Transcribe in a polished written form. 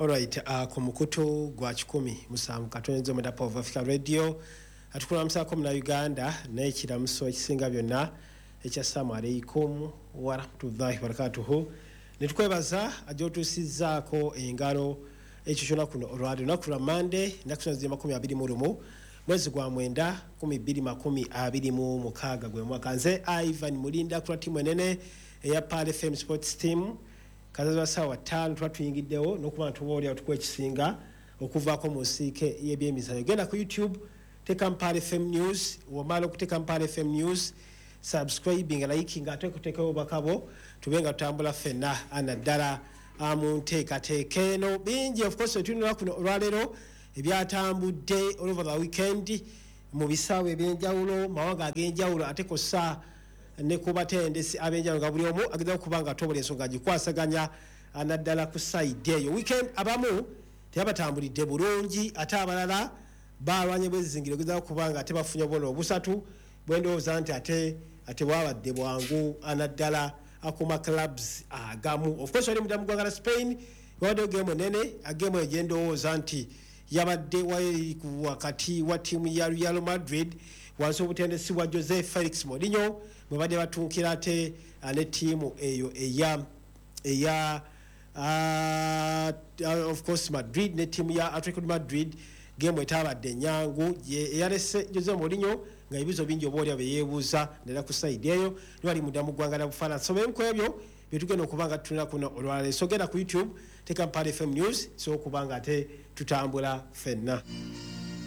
Alright, ku mukutu gwa 107.9 Power of Africa Radio, atukulamusaako muna Uganda n'ekiramuso ekisinga byonna ekya assalamu alaikum warahmatullahi wabarakatuhu, netukwebaza ajotuusizzaako engalo ekyo kyona kuno olwali lunaku lwa Mande, ennaku zino ziri 21 mwezi gwa 9 2026 gwe mwaka. Nze Ivan Mulinda kula tiimu enene eya Pearl FM Sports Team. Kazazi wa ssaawa 5 tuba tuyingiddewo n'okuba nga tuba oliawo tukuwa ekisinga okuvaako mu nsiike y'ebyemizannyo. Genda ku YouTube, teeka Pearl FM News. Womala okuteeka Pearl FM News, subscribing, liking, ate kuteekawo obubaka bwo, tube nga tutambula ffenna naddala mu nteekateeka eno. Bingi of course tulina kuno olwaleero ebyatambudde all over the weekend mu bisaawe ebyenjawulo, mawanga ag'enjawulo, ate kossa ne ku batendesi ab'enjawulo, nga buli omu ageza okuba nga tobola ensonga agikwasaganya naddala ku side eyo. Weekend abamu tebabatambulidde bulungi, ate abalala balwanye bwezizingiro ogezaako okuba nga ate bafunye obubonero obusatu bwendowooza nti ate bwabadde bwangu naddala akuma clubs agamu. Of course wali mudda mu ggwanga la Spain, wabaddeyo geemu enene, geemu eyo gyendowooza nti yabadde wali wakati wa ttiimu ya Real Madrid wansi obutendesi bwa Jose Felix Mourinho, bwe badde batuukira ate ne ttiimu eyo eya of course Madrid ne ttiimu ya Atletico Madrid. Geemu etabadde nyangu eyalese Jose Mourinho nga ebibuzo bingi oba olya bye yeebuuza naddala ku side eyo. Niwali mudda mu ggwanga lya Bufalansa. So bemu ku ebyo byetugenda okuba nga tutulina kuno olwaleero. So genda ku YouTube, teeka Pearl FM News, so okuba nga ate tutambula ffenna.